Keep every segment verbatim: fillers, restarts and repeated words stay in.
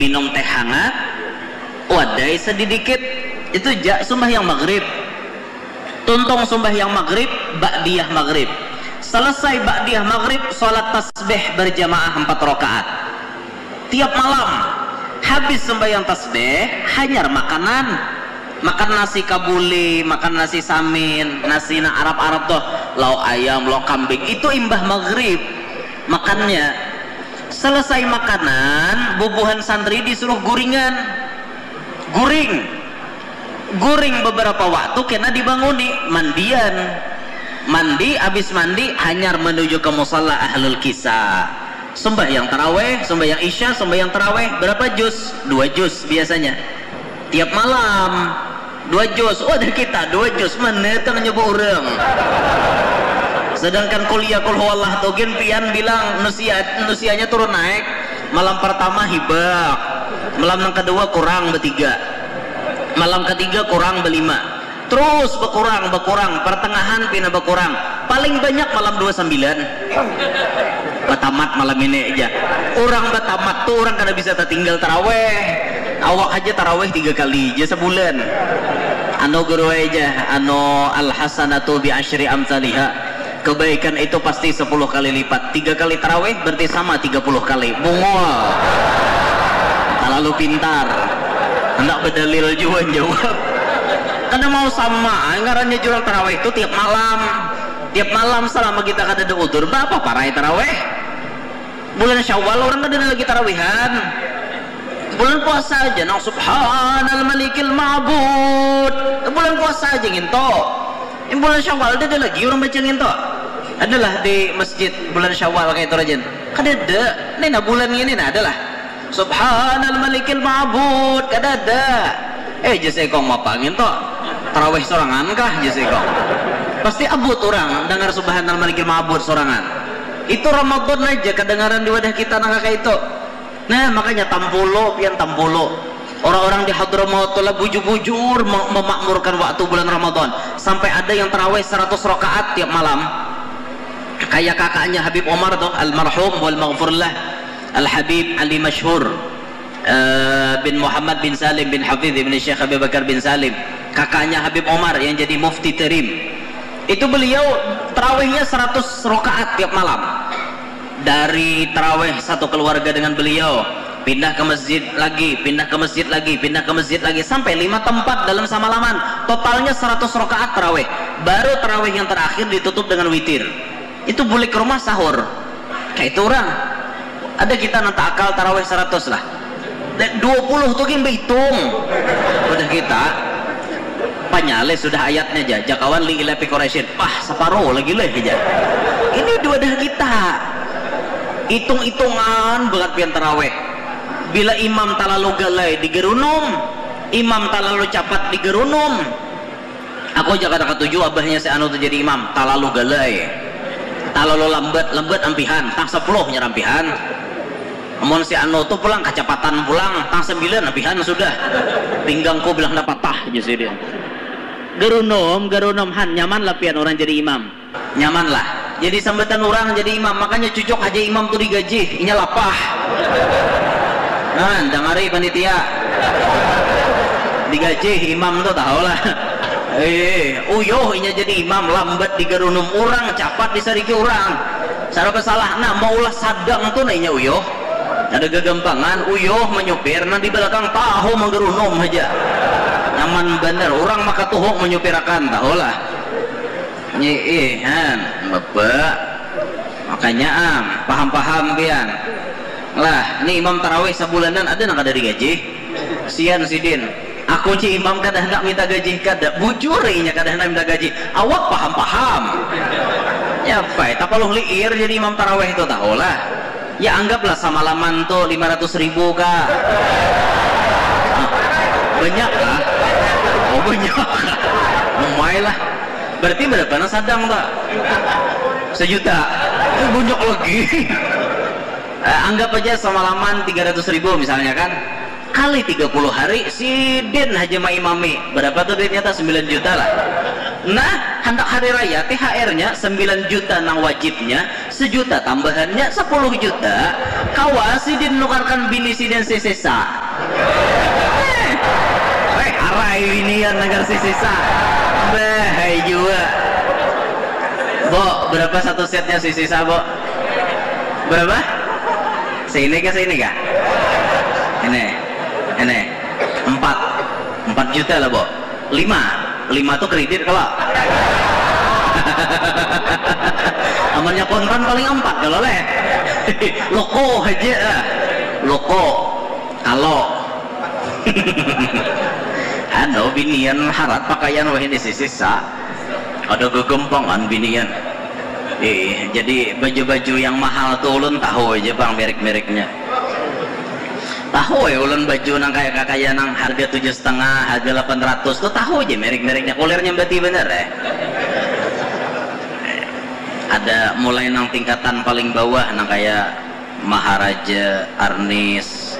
Minum teh hangat, wadai sedidikit, itu ja sumbahyang maghrib. Tuntung sumbahyang maghrib, ba'diyah maghrib. Selesai ba'diyah maghrib, salat tasbih berjamaah empat rakaat. Tiap malam, habis sembahyang tasbih, hanyar makanan. Makan nasi kabuli, makan nasi samin, nasi nang Arab-Arab tuh, lauk ayam, lauk kambing. Itu imbah maghrib makannya. Selesai makanan, bubuhan santri disuruh guringan. Guring. Guring beberapa waktu kena dibanguni, mandian. Mandi, habis mandi, hanyar menuju ke musala ahlul kisah. Sembahyang taraweh, sembahyang isya, sembahyang taraweh. Berapa juz? Dua juz biasanya. Tiap malam, dua juz. Wadah kita, dua juz. Mana tang nyoba orang. Sedangkan kuliah kul huwallah tu gin pian bilang nusia, nusianya turun naik. Malam pertama hibak. Malam yang kedua kurang bertiga. Malam ketiga kurang berlima. Terus berkurang, berkurang. Pertengahan pina berkurang. Paling banyak malam dua sembilan. Batamat malam ini aja. Orang batamat tuh orang kada bisa tertinggal taraweh. Awak aja taraweh tiga kali aja sebulan. Anu guru aja, anu al hasanatu bi asyri amsaliha. Kebaikan itu pasti sepuluh kali lipat. Tiga kali taraweh berarti sama tiga puluh kali. Bungul. Terlalu pintar. Hendak berdalil juga jawab. Karena mau sama, ngarannya jurang taraweh itu tiap malam. Tiap malam selama kita kada ada udur, berapa parai taraweh? Bulan Syawal orang kada ada lagi tarawihan. Bulan puasa aja nang subhanal malikil ma'bud. Bulan puasa aja nginto. Ini bulan Syawal ada lagi orang baca nginto. Adalah di masjid bulan Syawal kayak itu rajin. Kada ada. Ini nah bulan ini nah adalah. Subhanal malikil ma'bud. Kada ada. Eh, jas ikong mapangin to. Tarawih sorangan kah, jas ikong? Pasti abut orang dengar subhanal malikil ma'bud sorangan. Itu Ramadan aja kedengaran di wadah kita nang kayak itu. Nah, makanya tampulo, pian tampulo. Orang-orang di Hadramaut tu lah bujur-bujur me- memakmurkan waktu bulan Ramadan. Sampai ada yang tarawih seratus rakaat tiap malam. Kayak kakaknya Habib Omar tuh, almarhum wal maghfurlah, Al Habib Ali Masyhur eh, bin Muhammad bin Salim bin Hafiz bin Syekh Abi Bakar bin Salim, kakaknya Habib Omar yang jadi mufti terim. Itu beliau tarawihnya seratus rakaat tiap malam. Dari tarawih satu keluarga dengan beliau, pindah ke masjid lagi, pindah ke masjid lagi, pindah ke masjid lagi, sampai lima tempat dalam samalaman. Totalnya seratus rakaat tarawih. Baru tarawih yang terakhir ditutup dengan witir. Itu bulik ke rumah sahur. Kayak itu orang. Ada kita nang taakal tarawih seratus lah. Dan dua puluh tu gin behitung. Udah kita. Panyalih sudah ayatnya aja. Jakawan li ila fi Quraisyin. Pah, separuh lagi leh aja. Ini dua dah kita. Hitung-hitungan banget pian tarawih. Bila imam talalu galai digerunum, imam talalu capat digerunum. Aku aja kada katuju abahnya si anu tu jadi imam, talalu galai. Talalu lambat, lambat ampihan, tang sepuluh nya rampihan. Amun si anu tu pulang kacapatan pulang, tang sembilan ampihan sudah. Pinggangku bilang dah patah aja sidin. Garunum, garunum han, nyaman lah pian orang jadi imam. Nyaman lah. Jadi sambatan orang jadi imam, makanya cucuk aja imam tu digaji, inya lapah. Nah, dangari panitia. Digaji imam tu tahu lah. Eh, uyuh inya jadi imam, lambat digarunum orang, capat disariki orang. Sarapa salah, nah, maulah sadang tu nah inya uyuh. Ada gagampangan, uyuh menyupir, nah di belakang tahu menggerunum aja. Nyaman bener, orang maka tuhuk menyupirakan, tahu lah. Nyiih, han, bebe. Makanya am, paham-paham pian. Lah, ni imam tarawih sabulanan ada nang kada digaji. Sian sidin. Aku ci imam kada handak minta gaji, kada. Bujur inya kada handak minta gaji. Awak paham-paham. Ya, pai, tapaluh liir jadi imam tarawih tu tahu lah. Ya anggaplah samalaman tu lima ratus ribu kah? Banyak kah? Oh banyak. Umai lah. Berarti berapa nang sadang pak? Sejuta. Eh, banyak lagi. Eh, anggap aja semalaman tiga ratus ribu misalnya kan. Kali tiga puluh hari, sidin haja maimami. Berapa tuh duitnya ta? Sembilan juta lah. Nah, handak hari raya, T H R-nya sembilan juta nang wajibnya, sejuta tambahannya, sepuluh juta. Kawa sidin nukarkan bini sidin sisisa. Weh, harai binian nagar sisisa. Bah, hai jua. Bo, berapa satu setnya sisisa, Bo? Berapa? Sini kah, sini kah? Ini. Ini. Empat. Empat juta lah, Bo. Lima. Lima tuh kredit kalau. Amannya kontan paling empat kalau leh. Loko aja. Loko. Kalau. Anu, binian harat pakaian wah ini sisisa. Ada gegempangan binian. Eh, jadi baju-baju yang mahal tuh ulun tahu aja bang merek-mereknya. Tahu ya ulun baju nang kayak kakaya nang harga tujuh setengah, harga delapan ratus tuh tahu aja merek-mereknya. Kulir nyambati bener ya. Ada mulai nang tingkatan paling bawah nang kayak Maharaja, Arnis,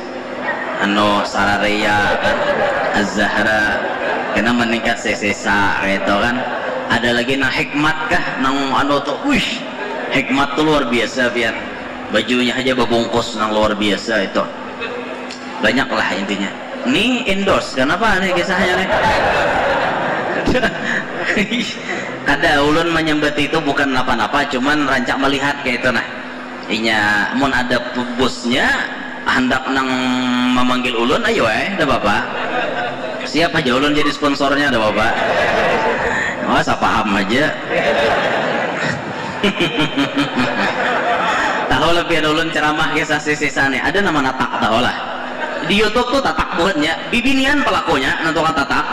anu Sararea kan, Azahra, kena meningkat sesesa gitu kan. Ada lagi nang hikmat kah, nang anu tuh, wih, hikmat tuh luar biasa pian. Bajunya aja babungkus nang luar biasa itu. Banyaklah intinya. Ni endorse, kenapa nih kisahnya nih? Kada, ulun menyambat itu bukan napa-napa, cuman rancak melihat kayak itu nah. Inya mun ada bosnya handak nang memanggil ulun, ayo eh, ada apa? Siap aja ulun jadi sponsornya, ada apa? Oh, saya paham aja. Tahu lah pian ulun ceramah kisah sisisa nih. Ada nama natak tahu lah. Di YouTube tuh tatak buhannya, bibinian pelakunya nentukan tatak.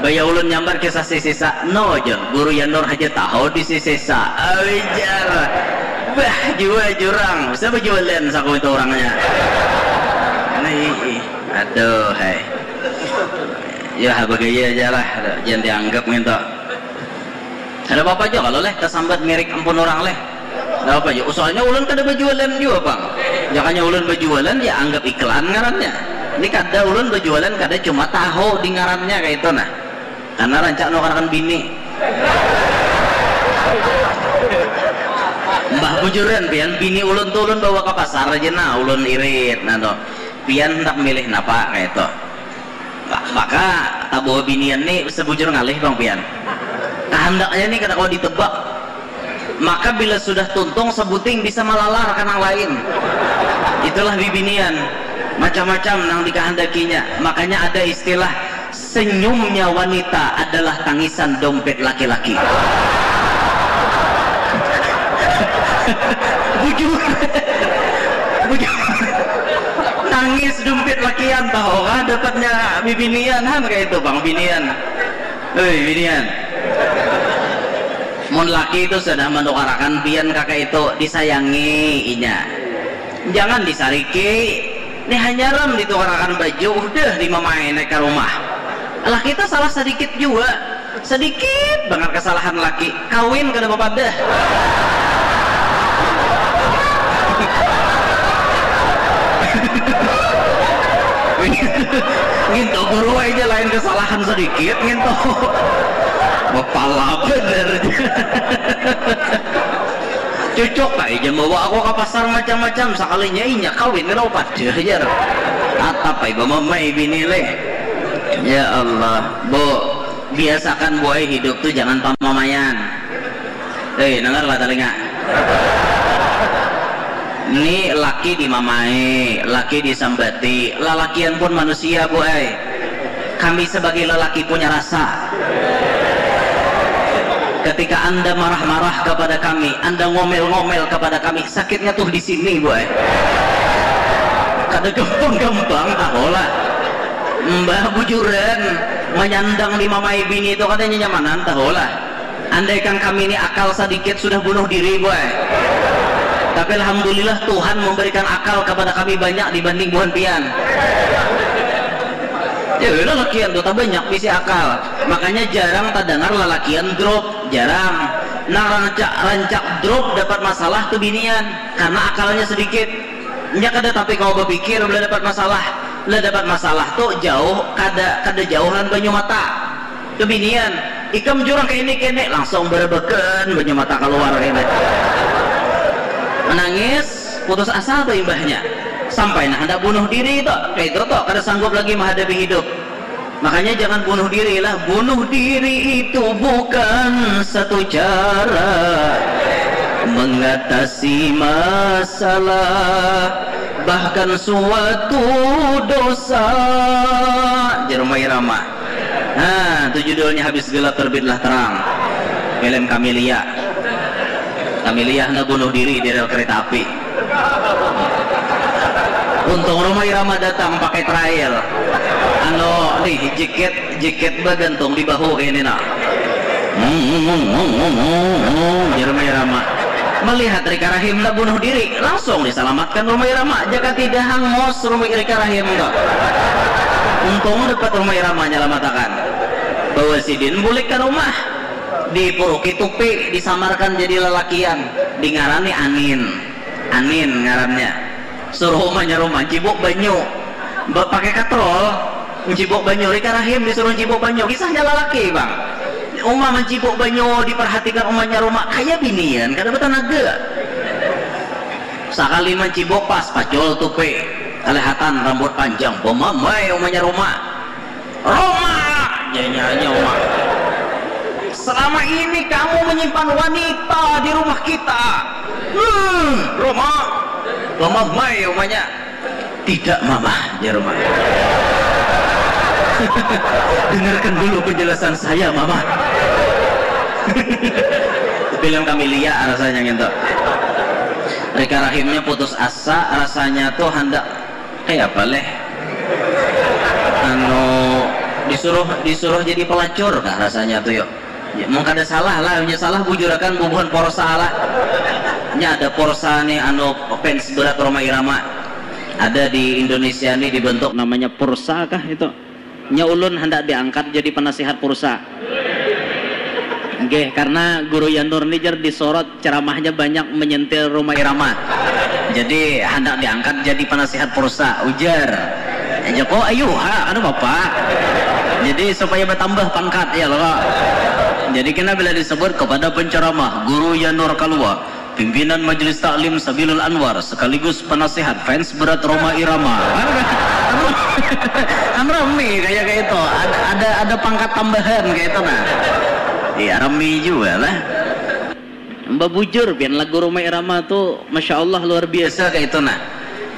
Baya ulun nyambar kisah sisisa, no jon, guru Yanur aja tahu di sisisa. Awijar. Bah, jua jurang. Bisa berjualan saku itu orangnya. Nah, ih, ih. Aduh, hai. Ya, bagaya aja lah. Jangan dianggap gitu. Ada apa-apa aja kalau leh tersambat mirik ampun orang leh. Ada apa aja. Soalnya ulun kada berjualan juga bang. Jangannya ulun berjualan ya anggap iklan ngarannya. Ini kada ulun berjualan kada cuma tahu di ngarannya kayak itu nah. Karena rancak nukarkan bini. Mbah bujuran pian bini ulun tuh ulun bawa ke pasar aja nah ulun irit nah tuh. Pian hendak milih napa kayak itu. Maka tabuh binian ni sebujur ngalih bang pian. Kahandaknya ni kada kawa ditebak. Maka bila sudah tuntung sebuting bisa malalar ka nang lain. Itulah bibinian. Macam-macam nang dikahandakinya. Makanya ada istilah senyumnya wanita adalah tangisan dompet laki-laki. Bujur. Bujur. Nangis dumpit lakian tahu kah dapatnya bibinian han kayak itu bang binian. Hei binian. Mun laki itu sudah menukarakan pian kakak itu disayangi inya. Jangan disariki. Ini hanya ram ditukarakan baju udah dimamai naik ke rumah. Laki itu salah sedikit juga. Sedikit banget kesalahan laki, kawin kada bapadah. Nginto guru aja lain kesalahan sedikit nginto. Bapala bener. Cucuk kai jam bawa aku ke pasar macam-macam sekalinya inya kawin kada padah jar. Atap ai bamamai bini leh. Ya Allah, Bu. Biasakan buai hidup tu jangan pamamaian. Hei, dengar lah telinga. Ni laki dimamai, laki disambati, lalakian pun manusia buai. Kami sebagai lelaki punya rasa. Ketika anda marah-marah kepada kami, anda ngomel-ngomel kepada kami, sakitnya tuh di sini buai. Kada gampang-gampang tahu lah. Mbah bujuran manyandang di mamai bini itu kada nyamanan tahu lah. Andaikan kami ini akal sedikit sudah bunuh diri buai. Tapi alhamdulillah Tuhan memberikan akal kepada kami banyak dibanding buhan pian. Ya lalakian tuh banyak bisi akal. Makanya jarang terdengar lalakian drop, jarang. Nah rancak rancak drop dapat masalah tuh binian karena akalnya sedikit. Nya kada tapi kawa bapikir bila dapat masalah. Bila dapat masalah tu jauh kada kada jauh lawan banyu mata. Kebinian, ikam jurang kene kene langsung berebekan banyu mata keluar kene. Menangis, putus asa tu imbahnya. Sampai nah handak bunuh diri tu. Kayak itu tu, kada sanggup lagi menghadapi hidup. Makanya jangan bunuh diri lah. Bunuh diri itu bukan satu cara mengatasi masalah, bahkan suatu dosa. Jar Rhoma Irama. Nah, itu judulnya Habis Gelap Terbitlah Terang. Film Camelia. Camelia hendak bunuh diri di rel kereta api. Untung Rhoma Irama datang pakai trail. Anu nih, jaket, jaket bagantung di bahu kayak ini nah. Jar Rhoma Irama. Melihat Rika Rahim hendak bunuh diri, langsung diselamatkan Rhoma Irama. Jaka tidak hangus Rhoma, Rika Rahim tu. Untung dapat Rhoma Irama nyelamatakan. Bawa sidin bulik ke rumah. Dipuruki tupi, disamarkan jadi lelakian. Dingarani Anin. Anin ngarannya. Suruh umanya rumah, cibuk banyu. Ba-, pakai katrol, mencibuk banyu. Rika Rahim disuruh cibuk banyu. Kisahnya lelaki, Bang. Uma mencibuk banyu, diperhatikan umanya rumah. Kayak binian, kada bertenaga. Sakali mencibuk pas, pacul tupi. Kelihatan rambut panjang. Bemamai umanya rumah. "Rhoma!" Nyanyi Rhoma. "Selama ini kamu menyimpan wanita di rumah kita." "Hmm, Rhoma." Bemamai umanya. "Tidak, Mama," jar Rhoma. "Dengarkan dulu penjelasan saya, Mama." Film Camelia rasanya gitu. Rika Rahimnya putus asa, rasanya tuh hendak kayak apa leh? Anu, disuruh, disuruh jadi pelacur kah rasanya tuh, yuk? Ya, mun kada salah lah, nya salah bujurakan bubuhan Porsa lah. Nya ada Porsa nih, anu, fans berat Rhoma Irama. Ada di Indonesia nih dibentuk namanya Pursa kah itu? Nya ulun hendak diangkat jadi penasihat Pursa. Nggih, karena Guru Yanur ni jar disorot ceramahnya banyak menyentil Rhoma Irama. Jadi hendak diangkat jadi penasihat Pursa, ujar. Joko, "Ayu ha, kada apa-apa." Jadi supaya bertambah pangkat ya loh. Jadi kena bila disebut kepada penceramah Guru Yanur Kalua, pimpinan Majelis Taklim Sabilul Anwar sekaligus penasihat fans berat Rhoma Irama. Kan, kan, kan rame kayak, kayak itu. Ada, ada, ada pangkat tambahan kayak itu nah. Iya, rame juga lah. Babujur pian, lagu Rhoma Irama tu masya Allah luar biasa kayak itu nah.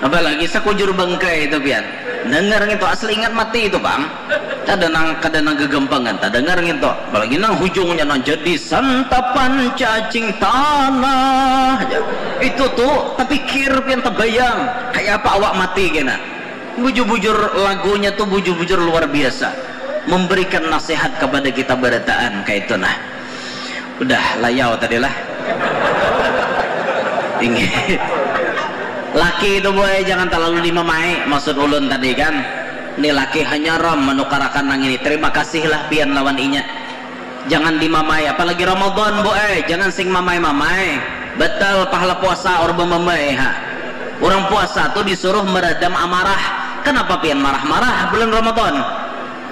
Apalagi Sakujur Bangkai itu pian. Dengar ngitu, asli ingat mati itu, Bang. Kada nang, kada nang gegampangan tadangar ngitu. Apalagi nang hujungnya nang jadi santapan cacing tanah. Itu tuh tapikir pian, tabayang kayak apa awak mati kena. Bujur-bujur lagunya tuh bujur-bujur luar biasa. Memberikan nasihat kepada kita barataan kayak itu nah. Udah layau tadi lah. Inggih. Laki itu, boy, jangan terlalu dimamai, maksud ulun tadi kan. Ni laki hanya ram menukarakan nang ini. Terima kasihlah pian lawan inya. Jangan dimamai, apalagi Ramadan, boy, jangan sing mamai-mamai. Batal pahala puasa orang bemamai ha. Orang puasa tuh disuruh meredam amarah. Kenapa pian marah-marah bulan Ramadan?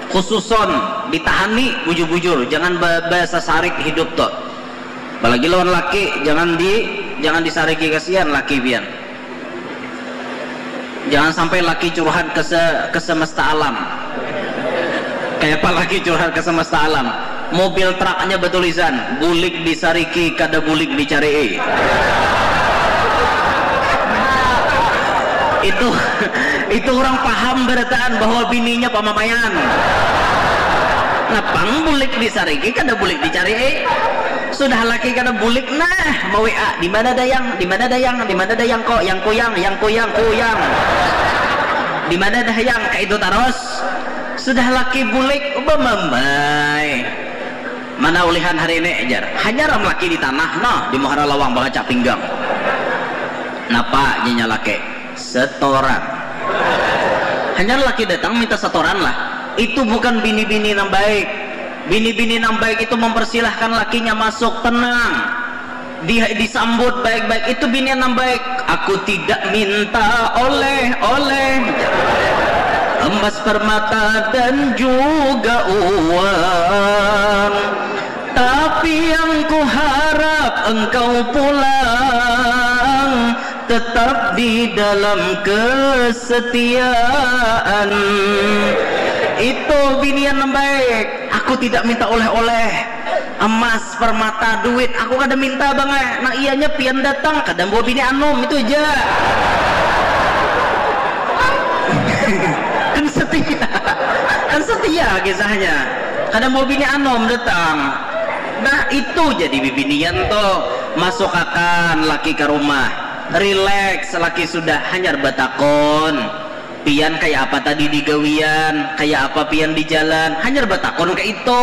Khususon ditahani bujur-bujur, jangan ba-, basasarik hidup tuh. Apalagi lawan laki, jangan di, jangan disariki, kasihan laki pian. Jangan sampai laki curhat ke se-, ke semesta alam. Kayak apa laki curhat ke semesta alam? Mobil truknya bertulisan, "Bulik disariki, kada bulik dicarii." Itu, itu orang paham barataan bahwa bininya pamamaian. Napang bulik disariki, kada bulik dicarii. Sudah laki kada bulik, nah, ma-W A, "Di mana dayang? Di mana dayang? Di mana dayang kok? Yang kuyang, yang kuyang, kuyang. Di mana dayang?" Kayak itu terus. Sudah laki bulik, bamamai. "Mana ulihan hari ini?" jar. Hanya ram laki di tanah, nah, di muhara lawang bakaca pinggang. "Napa?" janya laki. "Setoran." Hanya laki datang minta setoran lah. Itu bukan bini-bini nang baik. Bini-bini nang baik itu mempersilahkan lakinya masuk, tenang. Di-, disambut baik-baik. Itu bini nang baik. "Aku tidak minta oleh-oleh, emas, permata, dan juga uang. Tapi yang kuharap engkau pulang Tetap di dalam kesetiaan. Itu binian nang baik. Aku tidak minta oleh-oleh, emas, permata, duit. Aku kada minta bang eh. Nang iyanya pian datang, kada bawa bini anom, itu aja. Kan setia. Kan setia kisahnya. Kada bawa bini anom datang. Nah, itu jadi bibinian tuh. Masukakan laki ke rumah. Rileks, laki sudah hanyar batakon, "Pian kaya apa tadi di gawian? Kaya apa pian di jalan?" Hanyar batakon kaitu.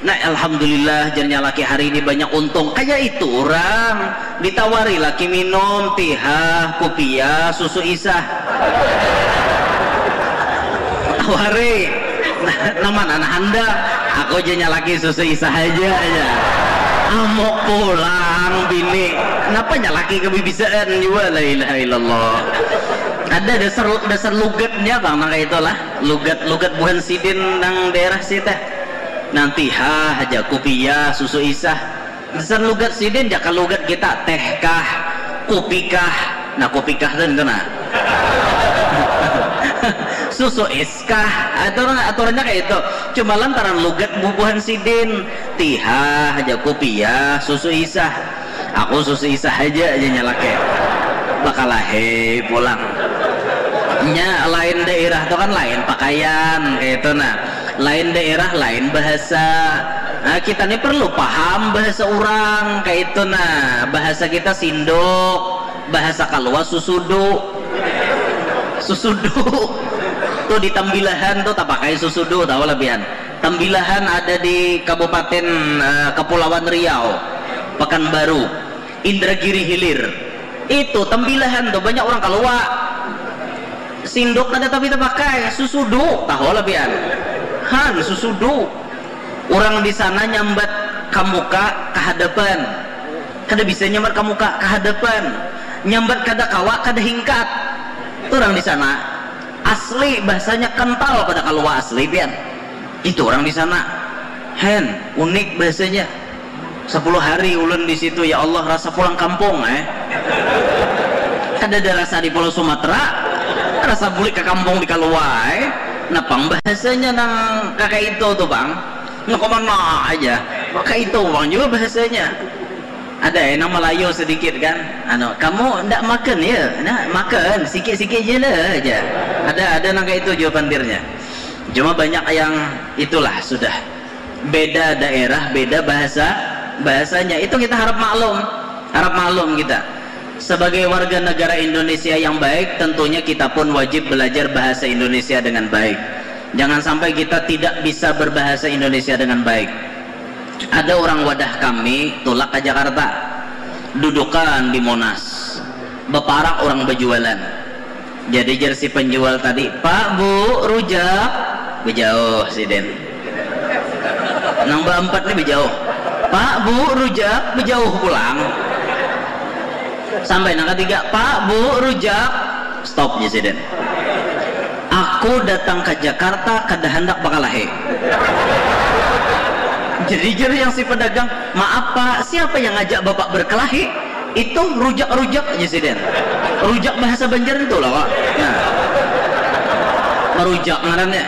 Nah, alhamdulillah, jarnya laki hari ini banyak untung. Kaya itu urang. Ditawari laki minum, tihah, kupiah, susu isah. Tawari. Nah, nang mana nang handak? Aku ja nyalaki susu isah haja, jar. Amuk pulang bini. Napa nyalaki kabibisaan jua, la ilaha illallah. Ada dasar, dasar lugatnya bang, nang kaya itulah. Lugat, lugat buhan sidin nang daerah sini teh. Nang tihah haja, kupiah, susu isah. Dasar lugat sidin, jaka lugat kita, teh kah, kupi kah. Nah, kupi kah tu, tu nah. Susu is kah, aturan, aturannya kaya itu. Cuma lantaran lugat bubuhan sidin, tihah haja, kupiah, susu isah. Aku susu isah haja, jar nya laki. Bakalahi pulang. Nya lain daerah tu kan lain pakaian, kaya itu nah. Lain daerah, lain bahasa. Nah, kita ni perlu paham bahasa urang, kaya itu nah. Bahasa kita sinduk, bahasa kalua susudu. Susudu. Tuh di Tambilahan tuh tapakai susudu, tahu lah pian. Tambilahan ada di Kabupaten, eh, Kepulauan Riau, Pekanbaru, Indragiri Hilir. Itu Tambilahan tuh banyak urang kalua. Sinduk kada tapi tapakai, susudu, tahu lah pian. Han, susudu. Urang di sana nyambat ka muka, ka hadapan. Kada bisa nyambat ka muka, ka hadapan. Nyambat kada kawa, kada hingkat. Itu urang di sana. Asli bahasanya kental pada kalua asli pian. Itu urang di sana. Hen, unik bahasanya. Sapuluh hari ulun di situ, ya Allah, rasa pulang kampung, eh. Kadada rasa di Pulau Sumatera, rasa bulik ka kampung di kalua, eh. Nah, pang bahasanya nang kaya itu tuh, Bang. Nang ka mana aja. Kaya itu, Bang, jua bahasanya. Ada, eh, nang Malayu sedikit, kan. Anu, "Kamu ndak makan, ya?" Nah, makan, sikit-sikit je lah aja. Ada, ada nang kaya itu jua pantirnya. Cuma banyak yang itulah sudah. Beda daerah, beda bahasa, bahasanya. Itu kita harap maklum, harap maklum kita. Sebagai warga negara Indonesia yang baik, tentunya kita pun wajib belajar bahasa Indonesia dengan baik. Jangan sampai kita tidak bisa berbahasa Indonesia dengan baik. Ada orang wadah kami tulak ka Jakarta, dudukan di Monas, baparak orang bajualan. Jadi jar si penjual tadi, "Pak, Bu, rujak." Bejauh sidin. Nang baampat ni bejauh. "Pak, Bu, rujak." Bejauh pulang. Sampai nang katiga, "Pak, Bu, rujak." Stop jar sidin. "Aku datang ke Jakarta kada handak bakalahi." Jadi jar yang si pedagang, "Maaf, Pak, siapa yang ngajak Bapak berkelahi?" Itu rujak-rujak aja sidin. Rujak bahasa Banjar itu lah, Pak. Nah. Merujak ngarannya.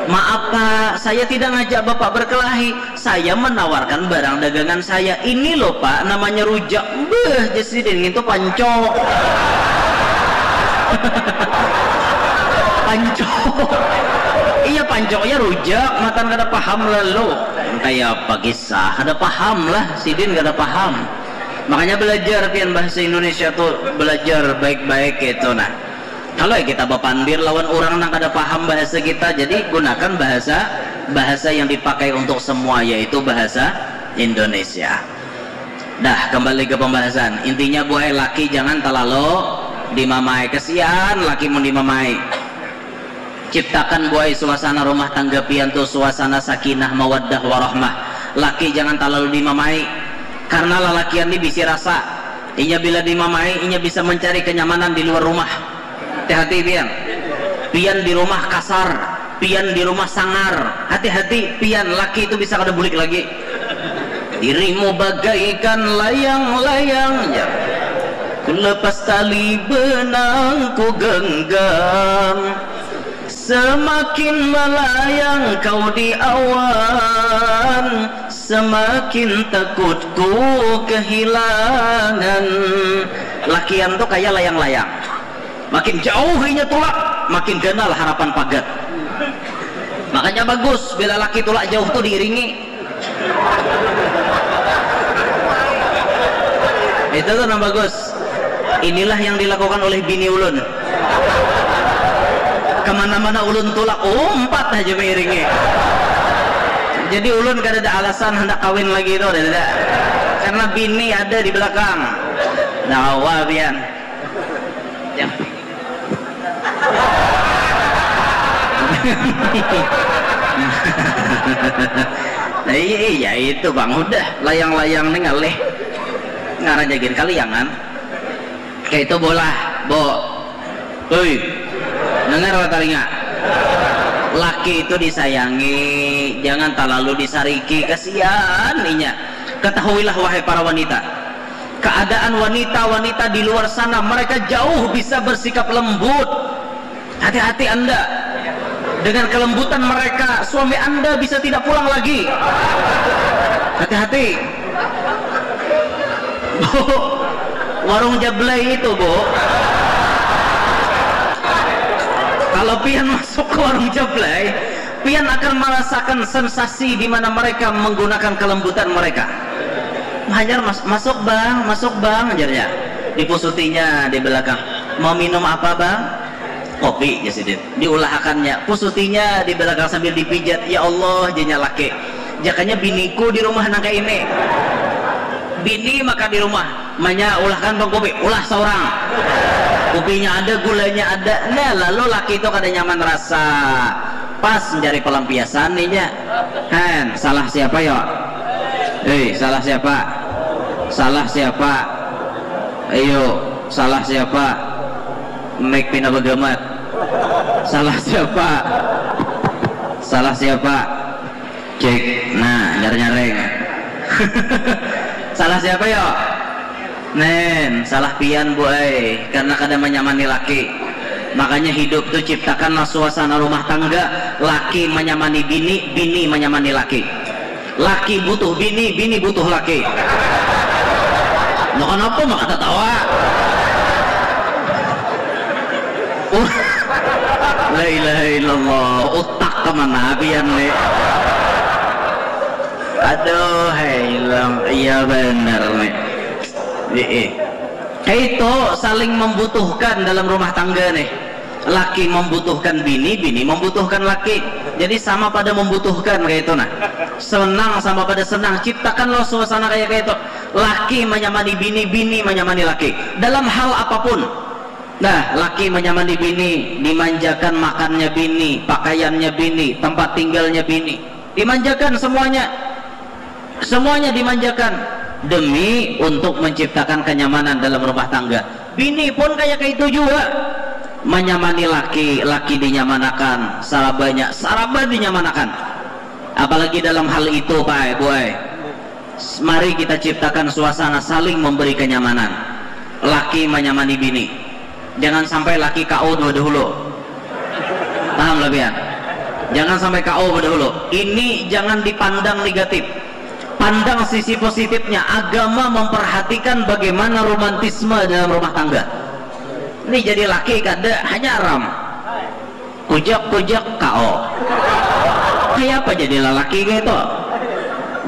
"Maaf, Pak, saya tidak ngajak Bapak berkelahi. Saya menawarkan barang dagangan saya. Ini loh, Pak, namanya rujak." Beuh, jar sidin, "Ngintu pancok." Pancok. Iya, pancoknya rujak, matan kada paham lalu. Kayak apa kisah, kada paham lah, sidin kada paham. Makanya belajar pian bahasa Indonesia tuh, belajar baik-baik gitu. Nah, kalau ya kita bapandir lawan orang nang kada paham bahasa kita, jadi gunakan bahasa, bahasa yang dipakai untuk semua, yaitu bahasa Indonesia. Dah, kembali ke pembahasan. Intinya, buai, laki jangan terlalu dimamai. Kesian laki mun dimamai. Ciptakan, buai, suasana rumah tangga pian tu suasana sakinah, mawaddah, warahmah. Laki jangan talalu dimamai, karena lalakian ni bisi rasa. Inya bila dimamai, inya bisa mencari kenyamanan di luar rumah. Hati-hati pian. Pian di rumah kasar, pian di rumah sangar. Hati-hati pian, laki itu bisa kada bulik lagi. Dirimu bagaikan layang-layang, jar. Lepas tali benang ku genggam, semakin melayang kau di awan, semakin takut ku kehilangan. Lakian tu kaya layang-layang. Makin jauh inya tulak, makin ganal harapan pagat. Makanya bagus bila laki tulak jauh tu diiringi. Itu tu nang bagus. Inilah yang dilakukan oleh bini ulun. Kemana-mana ulun tulak, umpat haja mairingi. Jadi ulun kada ada alasan handak kawin lagi tu, kada ada. Karena bini ada di belakang. Nah, wah, pian. Ya. Nah, iya, iya, itu, Bang. Udah, layang-layang nih ngalih. Ngaran jagin kaliangan. Kayak itu bola, Bo. Hei, dengar lah telinga. Laki itu disayangi, jangan terlalu disariki. Kasihan inya. Ketahuilah, wahai para wanita, keadaan wanita-wanita di luar sana, mereka jauh bisa bersikap lembut. Hati-hati Anda. Dengan kelembutan mereka, suami Anda bisa tidak pulang lagi. Hati-hati. Bu, warung Jablay itu, Bu. Kalau pian masuk ke warung Jablay, pian akan merasakan sensasi di mana mereka menggunakan kelembutan mereka. Hajar, "Mas-, masuk, Bang, masuk, Bang," ajarnya. Dipusutinya di belakang. "Mau minum apa, Bang?" "Kopi," ya sidin. Diulahakannya. Pusutinya di belakang sambil dipijat. "Ya Allah," janya laki. "Jakanya biniku di rumah nang kaini." Bini maka di rumah. "Manya, ulahkan, Bang, kopi." "Ulah saurang." Kopinya ada, gulanya ada. Nah, lalu laki itu kada nyaman rasa. Pas mencari pelampiasan inya. "Hen, salah siapa, yo? Hei, salah siapa? Salah siapa? Ayo, salah siapa?" Mic pina bagamat. "Salah siapa? Salah siapa?" Cek. Nah, nyar-nyareng. "Salah siapa, yo?" "Nen, salah pian, Bu ai, karena kada manyamani laki. Makanya hidup tu ciptakanlah suasana rumah tangga, laki manyamani bini, bini manyamani laki. Laki butuh bini, bini butuh laki." "Nah, kenapa maka tatawa?" Uh, la ilaha illallah, utak kemana pian ni? Aduh, hai, iya benar ni. Ih, ih. Kaitu saling membutuhkan dalam rumah tangga nih. Laki membutuhkan bini, bini membutuhkan laki. Jadi sama pada membutuhkan kaitu nah. Senang sama pada senang. Ciptakanlah suasana kayak kaitu. Laki menyamani bini, bini menyamani laki. Dalam hal apapun. Nah, laki menyamani bini, dimanjakan makannya bini, pakaiannya bini, tempat tinggalnya bini. Dimanjakan semuanya. Semuanya dimanjakan demi untuk menciptakan kenyamanan dalam rumah tangga. Bini pun kayak itu juga. Menyamani laki, laki dinyamanakan, sarabanya, saraba dinyamanakan. Apalagi dalam hal itu, Pak, Bu ai. Mari kita ciptakan suasana saling memberi kenyamanan. Laki menyamani bini. Jangan sampai laki K O dua dahulu. Paham lah pian? Jangan sampai K O dahulu. Ini jangan dipandang negatif. Pandang sisi positifnya. Agama memperhatikan bagaimana romantisme dalam rumah tangga. Ini jadi laki kada, hanya haram. Kujak-kujak K O. Kayak apa jadi lelaki gitu?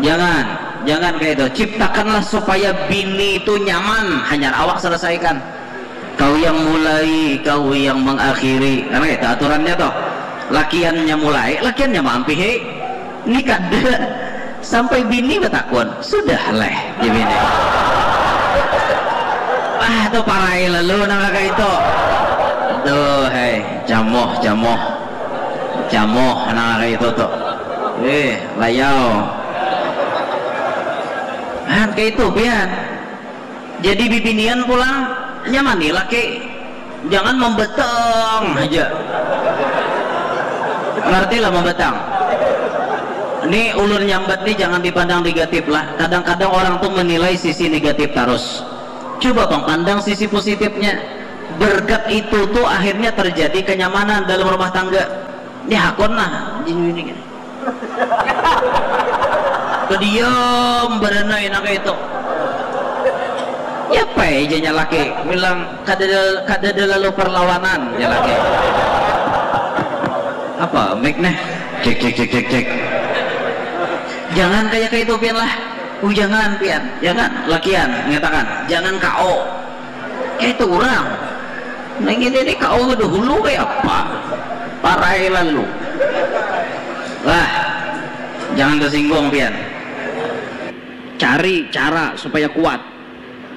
Jangan, jangan kayak itu. Ciptakanlah supaya bini itu nyaman, hanya awak selesaikan. Kau yang mulai, kau yang mengakhiri. Kan gitu aturannya toh. Lakiannya mulai, lakiannya maampihi. Ni kada. Sampai bini batakun, "Sudah leh," jar bini. Ah, tu parai lalu nang kaya itu. Aduh, hei, jamoh, jamoh. Jamoh nang kaya itu tu. Eh, layau. Han, kaya itu pian. Jadi bibinian pulang nyamani laki. Jangan membetang aja. Ngerti lah membetang. Ini ulun nyambat nih jangan dipandang negatif lah. Kadang-kadang orang tuh menilai sisi negatif terus. Coba bang pandang sisi positifnya. Berkat itu tuh akhirnya terjadi kenyamanan dalam rumah tangga. Ini hakun lah. Ini, ini. Kediam berenai nak itu. Ya apa aja laki bilang kada ada, kada ada lalu perlawanan ya laki. Apa mic nih? Cek cek cek cek cek. Jangan kayak kayak itu pian lah. Uh, jangan pian, jangan lakian mengatakan jangan kau. Kayak itu orang. Nah ini ini kau dahulu kayak apa? Parai lalu. Lah, jangan tersinggung pian. Cari cara supaya kuat.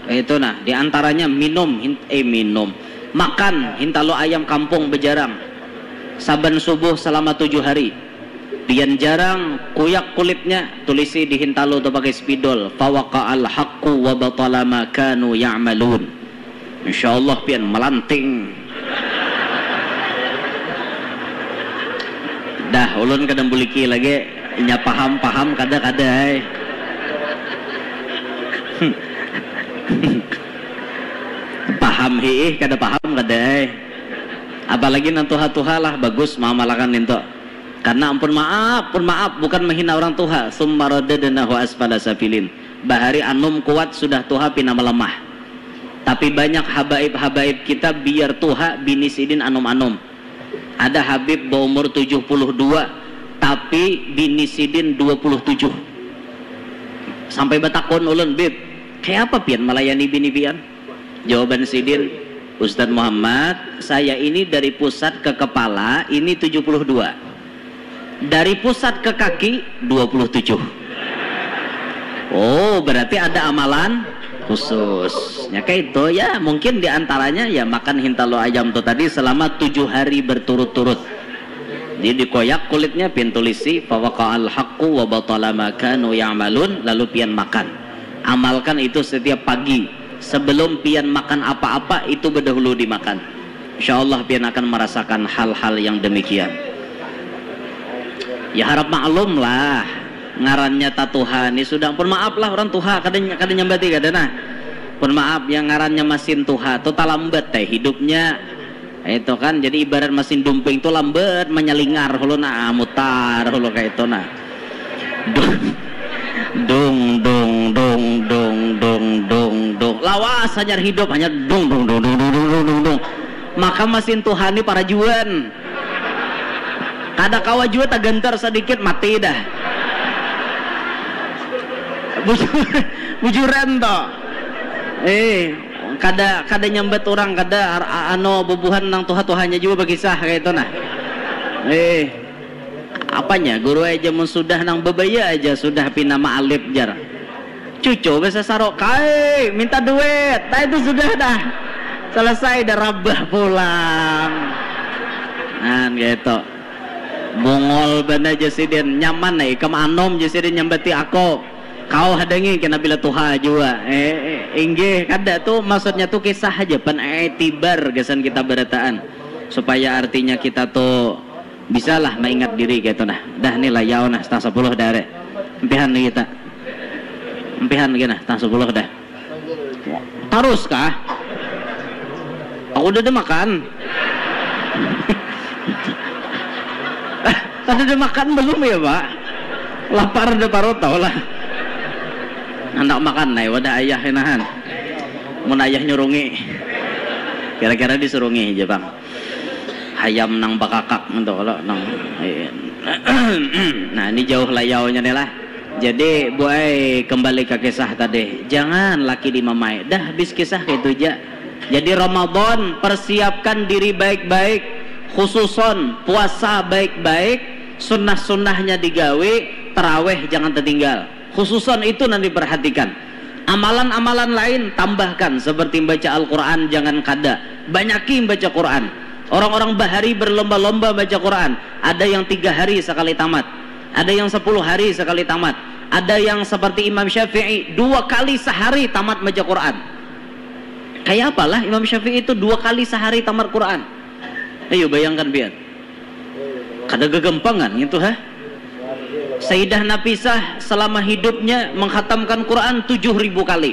Itu nah, diantaranya minum, eh minum, makan hintalo ayam kampung bejarang saban subuh selama tujuh hari. Pian jarang kuyak kulitnya, tulisi di hintalo tu pakai spidol, fawaqa'al haqqu wa batala ma kanu ya'malun. Insya Allah pian melanting. Dah, ulun kada buliki lagi. Inya paham, paham, kada, kada ai. Paham hiih, kada paham, kada ai. Apalagi nang tuha-tuha lah bagus maamalakan nintu. Karena ampun maaf, ampun maaf, bukan menghina orang tuha. Summa radadnahu asfala safilin. Bahari anum kuat sudah tuha pina melemah. Tapi banyak habaib-habaib kita biar tuha bini sidin anum-anum. Ada habib baumur tujuh puluh dua tapi bini sidin dua puluh tujuh. Sampai batakun ulun, "Bib, kayapa pian melayani bini pian?" Jawaban sidin, "Ustadz Muhammad, saya ini dari pusat ke kepala ini tujuh puluh dua. Dari pusat ke kaki dua puluh tujuh." Oh, berarti ada amalan khusus. Ya kayak itu ya, mungkin diantaranya ya makan hintalo ayam tuh tadi selama tujuh hari berturut-turut. Jadi dikoyak kulitnya, pintu lisi, fawaqa'al haqqu wa batala ma kanu ya'malun, lalu pian makan. Amalkan itu setiap pagi. Sebelum pian makan apa-apa, itu bedahulu dimakan. Insya Allah pian akan merasakan hal-hal yang demikian. Ya harap maklum lah, ngarannya tatuha ni sudah, pun maaf lah orang tuha, kada kada nyambati kada nah. Pun maaf, yang ngarannya masin tuha tu talambat teh hidupnya. Itu kan, jadi ibarat masin dumping tu lambat manyalingar hulu nah, mutar hulu kayak itu nah. Dung, dung, dung, dung, dung, dung, dung, dung. Lawas hanyar hidup, hanya dung, dung, dung, dung, dung, dung, dung, dung, dung. Maka masin tuha ni parajuan. Kada kawa jua tagantar sadikit, mati dah. Bujur, bujuran to. Eh, kada kada nyambat orang, kada ar- a- anu bubuhan nang tuha-tuhanya jua bakisah kayak itu nah. Eh, apanya guru aja mun sudah nang bebaya aja sudah pina maalip jar. Cucu besasaro, "Kai, minta duit." Nah, itu sudah dah. Selesai dah rabah pulang. Nah, gitu. Bungol bana jar sidin, "Nyaman ai ikam anom," jar sidin, "nyambati aku. Kau hadangi kena bila tuha jua." Eh, eh, inggih, kada tu, maksudnya tu kisah aja pan, eh, tibar gasan kita barataan. Supaya artinya kita tu bisalah maingat diri gitu nah. Dah ni layau nah, setengah sepuluh dah re. Empihan lagi ta. Empihan lagi nah, setengah sepuluh dah. Tarus kah? Aku udah ada makan. Kada ada makan belum ya, Pak? Lapar ada parut tau lah. Handak makan nai wadah ayah inahan. Mun ayah nyurungi. Kira-kira disurungi aja, Bang. Hayam nang bakakak gitu kalau nang. Nah, ini jauh layaunya nih lah. Jadi, buai kembali ke kisah tadi. Jangan laki dimamai. Dah habis kisah kayak itu aja. Jadi Ramadan, persiapkan diri baik-baik, khususon puasa baik-baik, sunnah-sunnahnya digawi, teraweh jangan tertinggal. Khususon itu nanti perhatikan. Amalan-amalan lain tambahkan seperti baca Al-Quran jangan kada. Banyaki baca Quran. Orang-orang bahari berlomba-lomba baca Quran. Ada yang tiga hari sekali tamat. Ada yang sepuluh hari sekali tamat. Ada yang seperti Imam Syafi'i dua kali sehari tamat baca Quran. Kayak apalah Imam Syafi'i itu dua kali sehari tamat Quran? Ayo bayangkan pian. Kada gegempangan gitu ha. Sayyidah Nafisah selama hidupnya menghatamkan Quran tujuh ribu kali.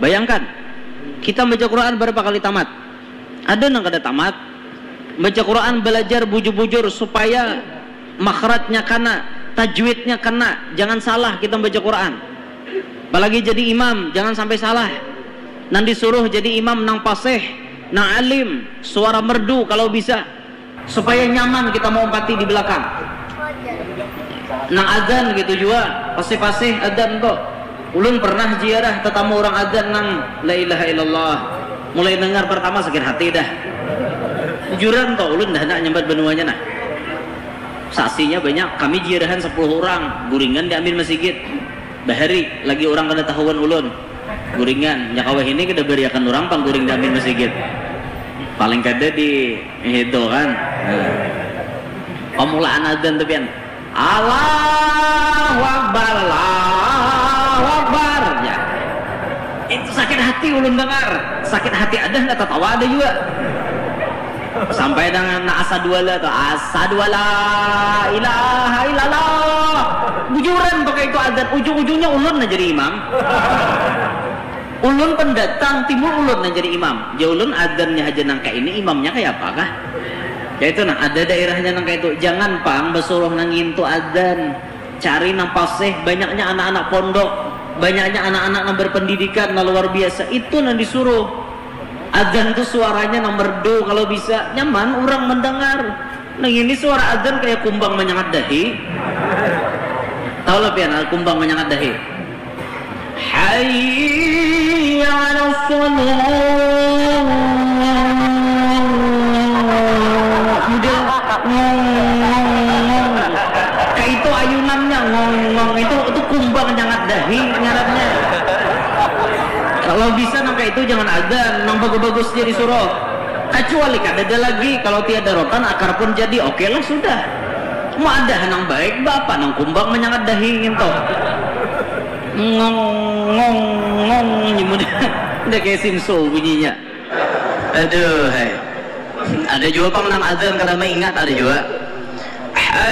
Bayangkan. Kita baca Quran berapa kali tamat? Ada nang kada tamat. Baca Quran belajar bujur-bujur supaya makhrajnya kana, tajwidnya kana, jangan salah kita baca Quran. Apalagi jadi imam, jangan sampai salah. Nang disuruh jadi imam nang pasih, nang alim, suara merdu kalau bisa, supaya nyaman kita mau empati di belakang. Nang adzan gitu jua, pasih-pasih adzan tu. Ulun pernah ziarah tetamu urang adzan nang la ilaha illallah. Mulai dengar pertama sakit hati dah. Bujuran tu, ulun dah handak nyambat banuanya nah. Saksinya banyak, kami ziarahan sepuluh urang, guringan di amin masigit. Bahari lagi urang kada tahuan ulun. Guringan, nya kawa hini kada bariakan urang pang guring di amin masigit. Paling kada di itu kan. Nah. Pamulaan adzan tu pian. Allahu Akbar, Allahu Akbar. Ya. Itu sakit hati ulun dengar. Sakit hati ada, ndak tatawa ada jua. Sampai dengan asadwala tu, asadwala ilaha illallah. Bujuran pakai itu adzan, ujung-ujungnya ulun nah jadi imam. Ulun pendatang, timbul ulun nang jadi imam. Jar ulun, adzannya haja nang kaya ini, imamnya kaya apa kah? Kaitu nah, ada daerahnya nang kaitu. Jangan pang basuruh nang ngintu adzan. Cari nang pasih, banyaknya anak-anak pondok, banyaknya anak-anak nang berpendidikan nang luar biasa. Itu nang disuruh. Adzan tu suaranya nang merdu, kalau bisa nyaman urang mendengar. Nang ini suara adzan kaya kumbang manyangat dahi. Tahu lah pian, ah, kumbang manyangat dahi. Hayya 'alas shalah. Model ngong, ngong, ngong. Kaitu ayunannya, ngong, ngong. Itu, itu kumbang nyangat dahi ngarannya. Kalau bisa nang kaitu jangan adzan, nang bagus-bagus jadi suruh. Kecuali kadada lagi, kalau tiada rotan akar pun jadi, oke lah sudah. Mau ada nang baik, bapa nang kumbang manyangat dahi ngintu. Ngong, ngong, ngong, nyimut. Udah kayak simso bunyinya. Aduh, hai. Ada jua pang nang adzan kada maingat, ada jua.